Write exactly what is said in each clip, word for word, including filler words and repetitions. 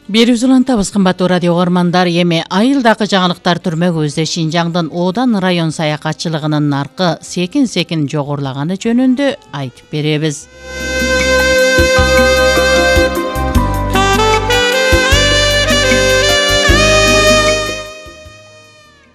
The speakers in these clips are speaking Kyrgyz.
Берүүбүз улантабыз, кымбаттуу радио угармандар. Эми айылдагы жаңылыктар түрмөгүбүздө Шинжаңдын Одан район саякатчылыгынын наркы секин-секин жогорулаганы жөнүндө айтып беребиз.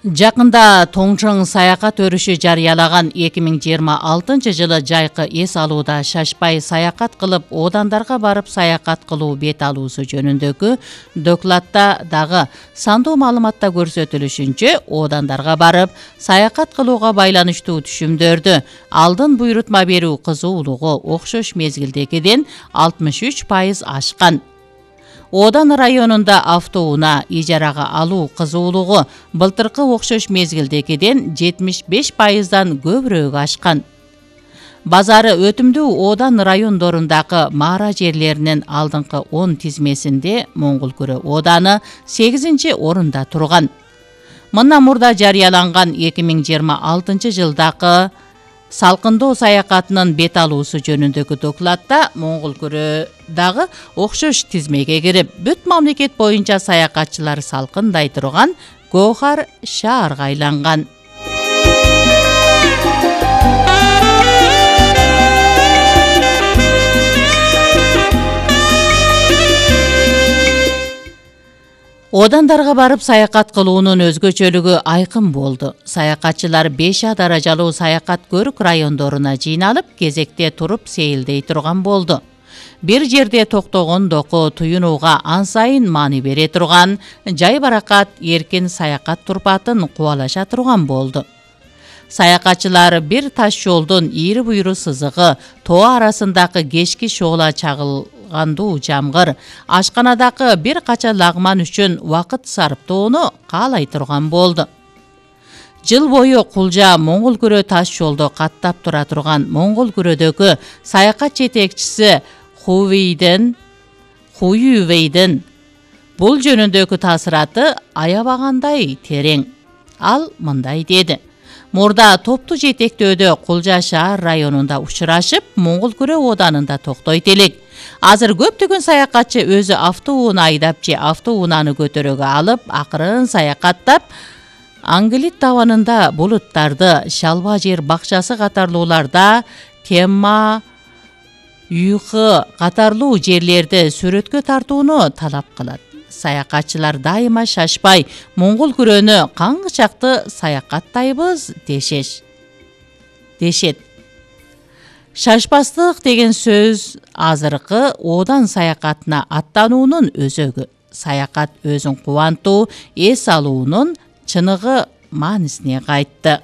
Жакында Тоңчоң саякат өрүшү жарыялаган эки миң жыйырма алтынчы жылы жайкы эс алууда шашпай саякат кылып, Одандарга барып саякат кылуу бет алуусу жөнүндөгү докладта дагы сандуу маалыматта көрсөтүлүшүнчө, Одандарга барып саякат кылууга байланыштуу түшүмдөрдү алдын буйрутма берүү кызуулугу окшош мезгилдегиден алтымыш үч пайыз ашкан. Одан районунда автоунаа ижарага алуу кызуулугу былтыркы окшош мезгилдегиден жетимиш беш пайыздан көбүрөөк ашкан. Базары өтүмдүү Одан райондорундагы маара жерлеринин алдыңкы он тизмесинде Моңгулкүрө Оданы сегизинчи орунда турган. Мындан мурда жарыяланган эки миң жыйырма алтынчы жылдагы салкындоо саякатынын бет алуусу жөнүндөгү докладта Моңгулкүрө дагы окшош тизмеге кирип, бүт мамлекет боюнча саякатчылар салкындай турган Гоохар шаарга айланган. Одандарга барып саякат кылуунун өзгөчөлүгү айкын болду. Саякатчылар беш А даражалуу саякат көрүк райондоруна жыйналып, кезекте туруп сейилдей турган болду. Бир жерде токтогондоку туюнууга ан сайын маани бере турган, жай баракат эркин саякат турпатын кубалаша турган болду. Саякатчылар бир таш жолдун ийри буйру сызыгы, тоо арасындагы кечки шоола чагылгандуу жамгыр, ашканадагы бир кача лагман үчүн убакыт сарптоону каалай турган болду. Жыл бою Кулжа Моңгулкүрө таш жолдо каттап тура турган Моңгулкүрөдөгү саякат жетекчиси Хувейден Хуювейдин бул жөнүндөгү таасираты аябагандай терең. Ал мындай деди: Мурда топту жетектөөдө Кулжа шаар районунда учурашып, Моңгулкүрө Оданында токтойт элек. Азыр көптөгөн саякатчы өзү автоунаа айдап же автоунааны көтөрөгө алып, акырын саякаттап, Аңгилит табанында булуттарды, Шалба жер бакчасы катарлууларда, Темма, Юйхы катарлуу жерлерди сүрөткө тартууну талап кылат. Саякатчылар дайыма шашпай Моңгулкүрөнү каңгычакты саякаттайбыз дешеш. Дешет. Шашпастык деген сөз азыркы Одан саякатына аттануунун өзөгү. Саякат өзүн кубантуу, эс алуунун чыныгы маанисине кайтты.